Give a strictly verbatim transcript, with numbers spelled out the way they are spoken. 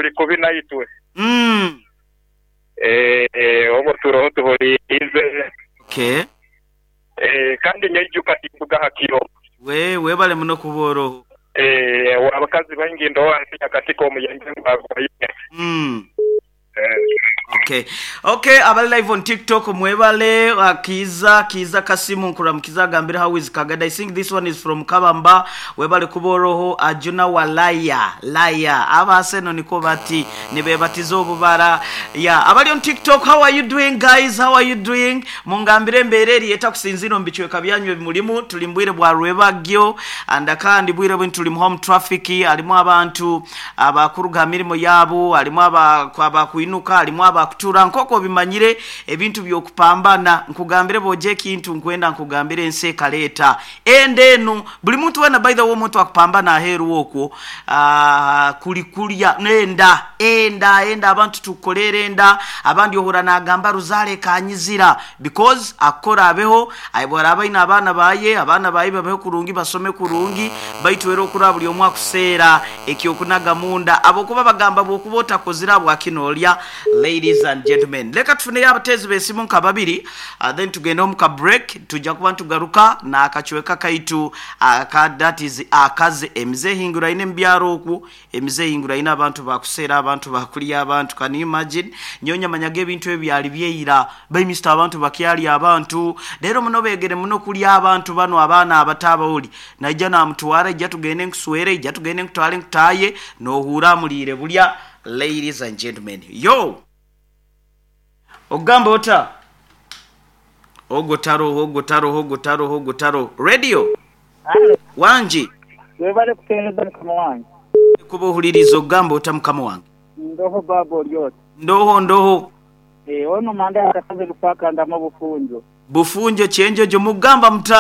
Tuli kubi naitwe. Mm. Eh, eh, obwo turoho tuhuliirize. Okay. Eh, kandi nyaijuka tinduga hakiro. We webale muno kuba oroho. Eh, abakazi baingi ndowa nsi katika omuyenge gwagwaine. Mm. Eh, Okay. Okay, abali live on TikTok mwebale uh, Kiza Kiza Kasimu nkuramukiza agambire how is Kagada. I think this one is from Kabamba. Webale kuboroho Ajuna Walaya. Laya. Abaseno niko bati nibebatiza obubara. Yeah, abali on TikTok, how are you doing guys? How are you doing? Mungambire embereri etakusinzira mbichweka byanyu ebimulimu tulimbwire bwa rwebagyo and kandi bwire bwe tuli mu home traffic alimu abantu abakuruga mirimo yabo alimu aba abakuinuka alimu abakutura nkoko bimanyire ebintu byokupambana nkugambire boje kintu nkwenda nkugambire ensi ekaleta ende enu buli muntu wena by the way omuntu akupambana aheru okwo uh, kuli kulya nenda enda enda abantu tukolere enda abandi ohura nagamba ruzale kanyizira because akora abeho aibora abaina abaana baye abaana baye babeho kurungi basome kurungi baitu era okura buli omwe akuseera ekyokunaga munda abokuba bagamba bwokuba otakozira bwakinolya. Ladies and gentlemen, leka tufuneyo abateezi b'esimu nka babiri, uh, then tugende omu ka break. Tujja kuba ntugaruka n'akacweka kaitu aka that is akaze emize ehinguraine mu byaro okwo emize ehinguraine abantu bakuseera abantu bakulya abantu. Can you imagine? Nyonya manyaga ebintu ebyali byeira baimisita abantu bakyali abantu leero muno begere muno kulya abantu bano abaana abato abawuli naija namutwara ijja tugende nkuswere ijja tugende nkutwale nkutaye nohuura amuliire bulya. Ladies and gentlemen, yo ogamba ota ogwo taroho ogwo taroho ogwo taroho ogwo taroho radio. Wangi. Webale kuteereza mukama wange. Kuba ohuliriza ogamba ota mukama wange. Ndoho baba olyota. Ndoho ndoho. Eh, ono manda akakaze lupaka ndamo bufunjo. Bufunjo kyenjojo mugamba muta.